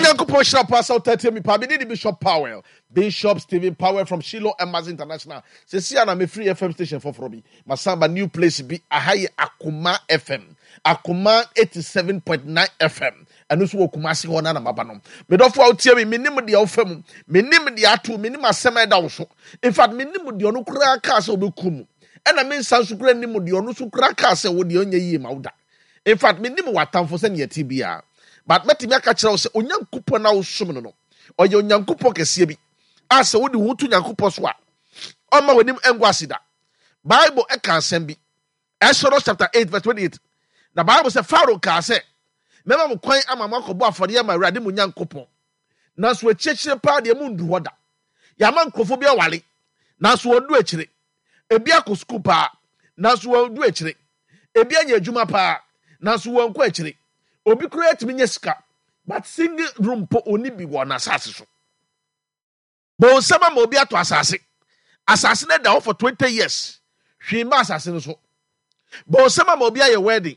Onyankopɔn hyira paa sɛ wotatie me paa. Mede ne Bishop Powell, Bishop Stephen Powell from Shiloh Embassy International. Sɛsi a na mefiri FM station foforɔ bi. Masan ba new place bi. Aha yɛ Akoma FM. Akoma 87.9 FM. Ɛno nso wɔ Kumasi hɔ na na maba no. Medɔfo a wotie me, menim deɛ wofa mu. Menim deɛ ato, menim asɛm a ɛda wo so. In fact, menim deɛ ɔno koraa kaa sɛ ɔbɛku mu. Ɛna me nsa nso koraa nim deɛ ɔno nso koraa kaa sɛ wo deɛ ɔnyɛ yie ma wo da. In fact, menim w'atamfo sɛnea ɛte biara. But mɛtumi aka kyerɛ wo sɛ Onyankopɔn a wosom no no, ɔyɛ Onyankopɔn kɛseɛ bi a sɛ wode wo ho to Nyankopɔn so a, ɔmma w'anim ngu ase da. Bible ɛka asɛm bi. Exodus chapter 8 verse 28. Na Bible sɛ Pharaoh kaa sɛ, mɛma mo kwan ama mo akɔbɔ afɔdeɛ ama Awurade mo Nyankopɔn. Nanso akyirikyiri paa deɛ mondu hɔ da. Yɛama nkurɔfoɔ bi aware, nanso wɔndu akyire. Ebi akɔ sukuu paa, nanso wɔndu akyire. Ebi anya adwuma paa, nanso wɔnkɔ akyire. Obi koraa tumi nya sika, but single room mpo ɔnni bi wɔ n'asase so. Bonsam ama obi atɔ asase. Asase no da hɔ for 20 years. Hwee mma asase no so. Bonsam ama obi ayɛ wedding.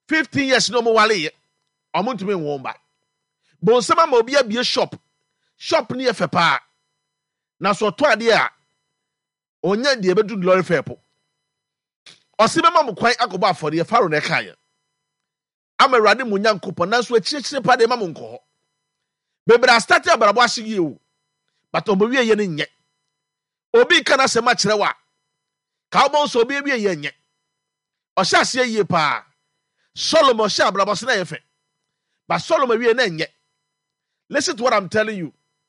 15 years na wɔn wareyɛ. Wɔn ntumi nwo mba. Bonsam ama obi abie shop. Shop no yɛ fɛ paa. Na so ɔtɔ adeɛ a, ɔnya deɛ ɛbɛdu lɔre fɛ po. Ɔse mɛma mo kwan akɔbɔ afɔdeɛ, Pharaoh na ɛkaeɛ. Ama Awurade mo Nyankopɔn, nanso akyirikyiri pa deɛ ma mo nkɔ hɔ. Bebree astate abrabɔ ase yie o, but ɔmo wie yɛ no nyɛ. Obi ka n'asɛm akyerɛ wo a, ka wobɔ nso obi awie yɛ nyɛ. Ɔhyɛ aseɛ yie paa. Solomon hyɛ abrabɔ ase na ɛyɛ fɛ. But Solomon wie na ɛnyɛ. Listen to what I'm telling you.